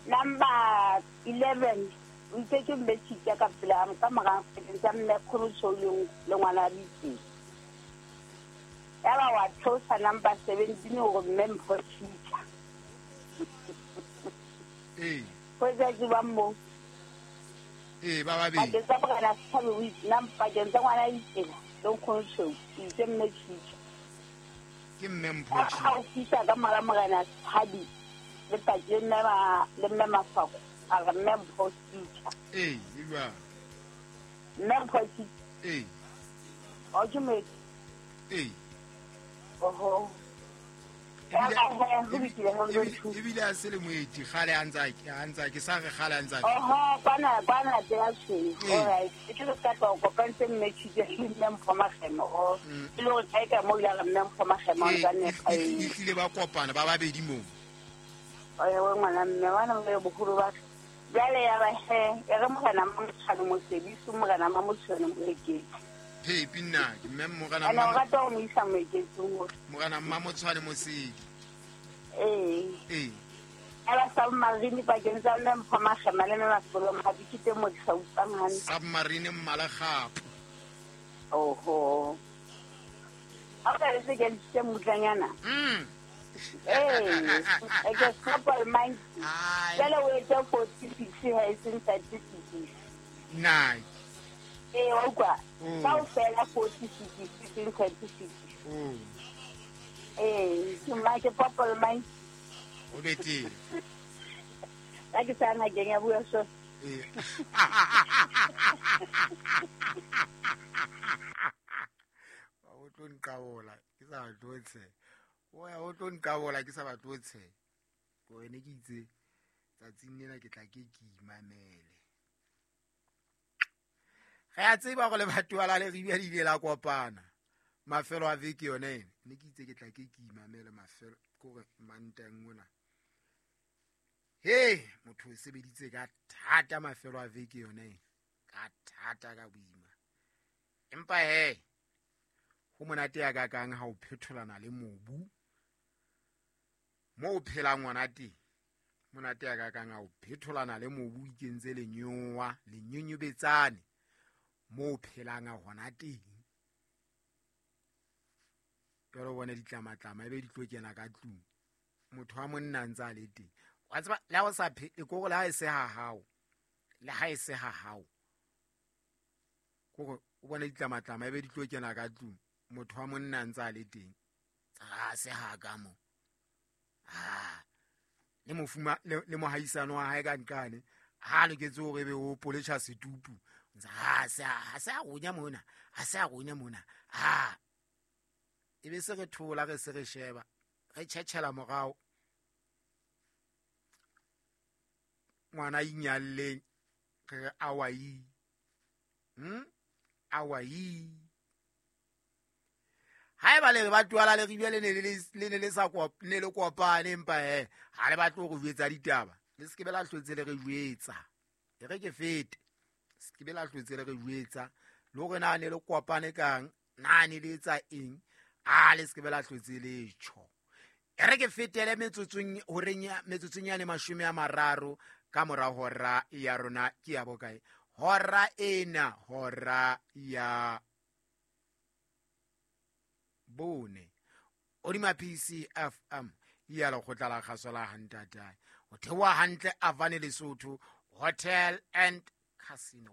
Number 11 o itse ke mme Tshitja ka pela ka mora tsa mme Kgolotsho le ngwana Ditse. Ya ba wa theosa number 17 hore mme Mpho Tshitja. Ee. Ho etsa jwang mo? Ee, ba babedi. Pakeng tsa morena Sethabe o itse nang pakeng tsa ngwana Ditsela le Nkgono o itse mme Tshitja. Ke mme Mpho Ha Tshitja. o fihla ka mora morena Sethabe le paki le mme ma le mme Mafako a re mme Mpho Tshitja. Ee, e jwang? Mme Mpho Tshitja. Ee. O ke moeti. Ee. Oho. Ebile a se le moeti kgale a ntsa ke sa re kgale a ntsa. Oho, kwana kwana te ya tshweu. Alright. Ke le ka tlo kopantse mme Tshitja le mme Mpho Magema. O e le hore kae ka mo ile re mme Mpho Magema o ntsa ne E tlile ba kopana ba babedi moo. Oye ngwana mme wana mme boholo ba jwale ya ba he e re morena Mamotshwane Mosebisi morena Mamotshwane Moeketsi. Phepi nna ke mme morena Ana o rata ho mo isa Moeketsing hore morena Mamotshwane Mosedi. Ee. Ee. Ela submarine pakeng tsa mme Mpho Magema le mme Masolo Mhabi ke teng mo ke sa utlwang hantle. Submarine Mmalekgapo. Oho. Ha o ka re se ke ntshitse mmutlanyana. Ee, e ke couple mind. Jwale o etse 46 ha e seng 36. Nna. Ee, wa utlwa. Kaofela 46 e seng 36. Ee, ke mma ke purple mind. O be teng. Ka ke sa ngakeng ya bua so. Ee. O tlo nqabola ke sa batle ho tsheha. O ya o tlo nqabola ke sa batle ho tsheha. Ko wene ke itse tsatsing lena ke tla ke ke imamele. Re a tseba gore lebatowa la Leribe le ile la kopana mafelo a veke yone ena. Ne ke itse ke tla ke ke imamele mafelo kore Mantang ona. He, motho o sebeditse ka thata mafelo a veke yone ena. Ka thata ka boima. Empa he, ho monate ya kakang ha o phetholana le mobu. Mo o phelang ona teng. Monate ya kakang ha o phetholana le mobu o ikentse lenyowa, lenyonyobetsane. Mo o phelang hona teng. Jwale o bone ditlamatlama ebe di tlo kena ka tlung. Motho wa monna ntse a le teng. Wa tseba le ha o sa phele kore le ha e se ha hao. Le ha e se ha hao. Kore o bone ditlamatlama ebe di tlo kena ka tlung. Motho wa monna ntse a le teng. Ha se ha ka mo. Ha. Le mofuma le mohaisano wa hae ka nqane. Ha loketse hore ebe o poletjha setupu. Ha se a ronya mona. Ha se a ronya mona. Ha. Ebe se re thola re se re sheba. Re tjhetjhela morao. Ngwana inyalleng re awai. Awai. Haeba le re batho la Leribe le ne le sa ne le kopane empa he ha le batle ho re jwetsa ditaba. Le se ke be la hlotse le re jwetsa. E re ke fete. Se ke be la hlotse le re jwetsa. Le hore na ne le kopane kang, na ne le etsa eng, a le se ke be la hlotse le tjho. E re ke fetele metsotsong horeng ya metsotsong ya 30 ka mora hora ya rona ke ya bokae. Hora ena hora ya bone. Odima PCFM ya lekgotla la kgaso la Hantatae. O theoha hantle Avane Lesotho Hotel and Casino.